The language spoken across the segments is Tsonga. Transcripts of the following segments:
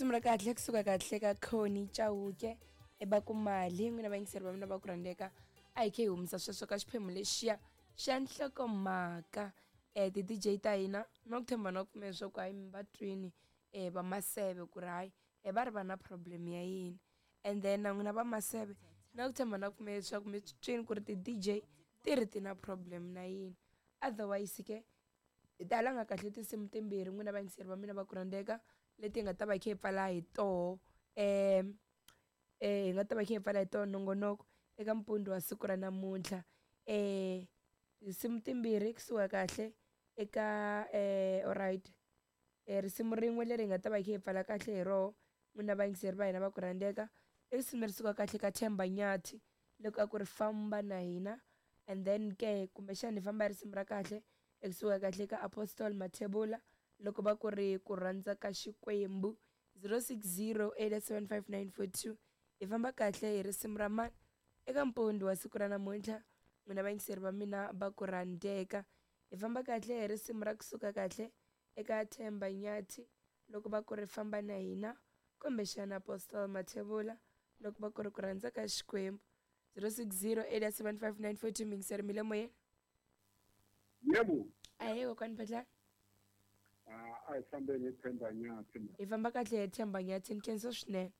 Risimu ra kahle kusuka kahle ka Connie Chauke eba ku mali n'wina vayingiseri va mina va ku rhandzeka a hi khe hi humesa sweswo ka xiphemu lexiya xa nhlokomhaka ti-DJ ta hina na ku tshemba na ku pfumela leswaku hayi mi va twini va maseve ku ri hayi va ri va na problem ya yini and then na n'wina va maseve na ku tshemba na ku pfumela leswaku mi twini ku ri ti-DJ ti ri ti na problem na yini otherwise ke hi ta langa kahle tinsimu timbirhi n'wina vayingiseri va mina va ku rhandzeka leti hi nga ta va hi kha hi pfala hi toho hi nga ta va hi kha hi pfala hi toho nongonoko eka mpundzu wa siku ra namuntlha tinsimu timbirhi kusuka kahle eka alright risimu rin'we leri hi nga ta va hi kha hi pfala kahle hi roho n'wina vayingiseri va hina va ku rhandzeka i risimu leri suka kahle ka Themba Nyathi loko a ku ri famba na hina and then ke kumbexana hi famba hi risimu ra kahle ekusuka kahle ka Apostle Mathebula loko va ku ri ku rhandza ka Xikwembu 0608755942 hi famba kahle hi risimu ra mani eka mpundzu wa siku ra namuntlha n'wina vayingiseri va mina va ku rhandzeka hi famba kahle hi risimu ra kusuka kahle eka Themba Nyathi loko va ku ri famba na hina kumbexana Apostle Mathebula loko va ku ri ku rhandza ka Xikwembu 0608755942 mingiseri mi le moyeni. Yebo. Ahee kokwani Phetlani. A hi fambeni hi Themba Nyathi. Hi famba kahle hi Themba Nyathi ni khensa swinene.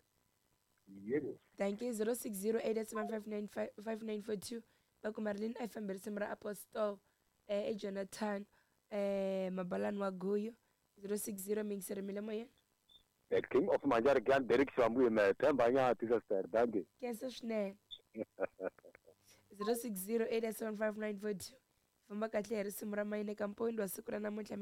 Yebo. Thank you. 0608755942 va ku Marilyn a hi fambi risimu ra Apostle Jonathan Mabalani wa Guyu 060 mingiseri mi le moyeni. The King of Manjarigani Derek Xivambuyi me Themba Nyathi sister. Thank you. Khensa swinene. 0608755942 famba kahle hi risimu ra mayini eka mpundzu wa siku ra namuntlha.